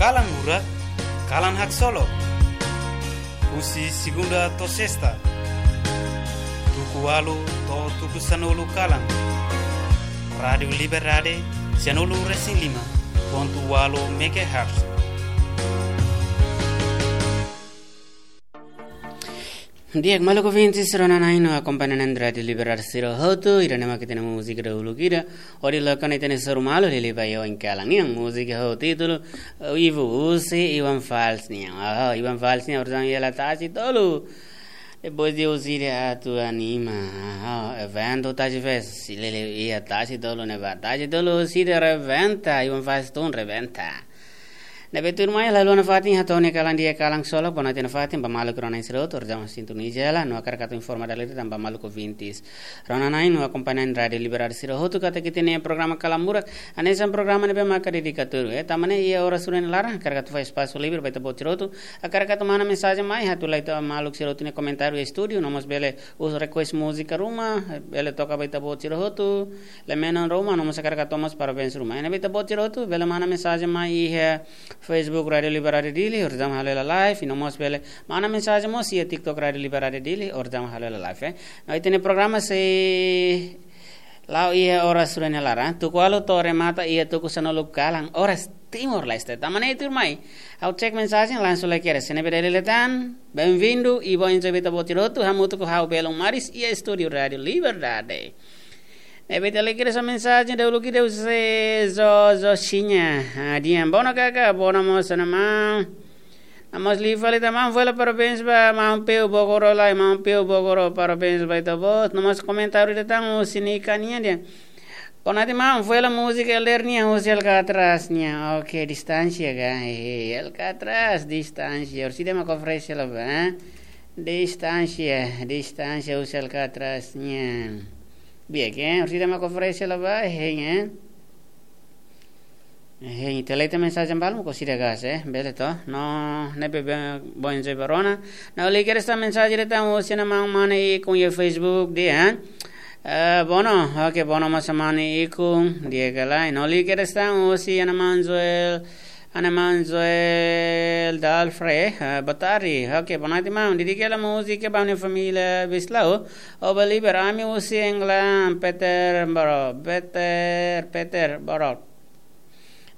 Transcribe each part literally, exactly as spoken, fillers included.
Kalan Murak, kalan haksolok. Husi segunda to'o sesta, tuku ualu to'o tuku sanulu kalan. Rádiu Liberdade, sanulu resin lima pontu ualu megahertz. Di'ak, maluk ouvintes, rona-na'in no akompaña na'in Rádiu Liberdade sira hotu, ida-ne'e mak ita-nia múzika dahuluk ida, hodi loke ona ita-nia soru malu liuliu ba iha oin kalan nian. Múzika ho títulu, eh, Ivu husi Iwan Fals nian. Oh, Iwan Fals nian, orsida hela tasi tolu. Depois de husi ida atu anima. Oh, eventu Tasi Fest, liuliu iha tasi tolu ne'ebá. Tasi tolu husi ida rebenta, Iwan Fals tun rebenta. Ne'ebé tuirmai, la haluha nafatin hato'o nia kalan di'ak, kalan solok, bonoite nafatin ba maluk rona-na'in sira hotu, orsida mak sintoniza hela, no hakarak atu informa dala ida tan ba maluk ouvintes, rona-na'in no akompaña na'in Rádiu Liberdade sira hotu katak ita-nia programa Kalan Murak, hanesan programa ne'ebé maka dedika tuir, eh, tanba ne'e iha oras rua nia laran, hakarak atu fó espasu livre ba ita-boot sira hotu, hakarak atu manda mensajen mai, atu la'o ita maluk sira hotu nia komentáriu iha estúdiu, no mós bele uza request múzika ruma, bele toka ba ita-boot sira hotu, lemenan ruma, no mós hakarak atu mós parabéns ruma. Ne'ebé ita-boot sira hotu bele manda mensajen mai iha Facebook Rádiu Liberdade Dili, orsida mak halo hela live, no mós bele manda mensajen mós iha TikTok Rádiu Liberdade Dili, orsida mak halo hela live, eh. No ita-nia programa sei la'o iha oras rua nia laran, tuku ualu to'o remata iha tuku sanulu kalan, oras Timor-Leste. Tanba ne'e tuirmai, ha'u cek mensajen, langsung lai kedas. Se ne'ebé dala ida tan, bem-vindo, i boa enjoy ba ita-boot sira hotu, hamutuk ho ha'u Belun Maris, iha estúdiu Rádiu Liberdade. Ne'ebé ita lai kedas mensajen dahuluk ida husi Zo, Zo Xinha. Ah, di'ak, bono kaka, bono mós ona maun. No mós liu fali tan maun, fó hela parabéns ba maun Peu Bogoro lai, maun Peu Bogoro, parabéns ba ita-boot. No mós komentáriu ida tan husi Nika nian, di'ak. Bonoite maun, fó hela múzika Elder nian, husi Alcatraz nian. Oke, Distánsia ka? Eh, Alcatraz, Distánsia. Orsida mak oferese hela ba, eh? Distánsia, Distánsia husi Alcatraz nian. Di'ak, eh? Orsida mak oferese hela ba, eh, eh? Eh, ita lee tan mensajen balu, ko sida gas, eh? Bele to? No, ne'ebé be-, boa enjoy ba rona. No, liu kedas tan mensajen ida tan husi ona maun Mane Ikun iha Facebook, di'ak, eh? Eh, bono, oke, bono mós ona maun Ikun, di'ak ka lae. No, liu kedas tan husi ona maun Joel, ona maun Joel Dalfre, eh, boa tarde. Oke, bonoite maun, dedika hela múzika ba ha'u-nia família Bislau, Oba Liber, ami husi England, Peter Boro, Peter, Peter Boro.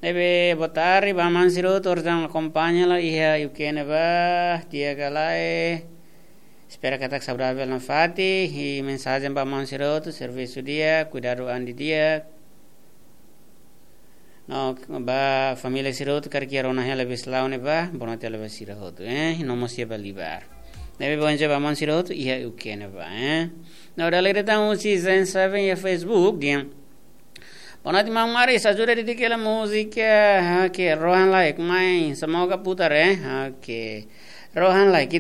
Ne'ebé boa tarde ba maun sira hotu, orsida mak akompaña hela iha U K ne'ebá, di'ak ka lae. Espera katak saudavel nafatin, i mensajen ba maun sira hotu, servisu di'ak, kuidadu an didi'ak. No, ba família sira hotu, karik iha rona hela Bislau ne'ebá, bonoite hela ba sira hotu, eh, no mós iha ba Libar. Ne'ebé boa enjoy ba maun sira hotu, iha U K ne'ebá, eh. No, dala ida tan husi Zen Seven iha Facebook, di'ak. Bonoite maun Maris, ajuda dedika hela múzika, oke, Rohan Laik, mai, semoga putar, eh, oke. Rohan Laik, ita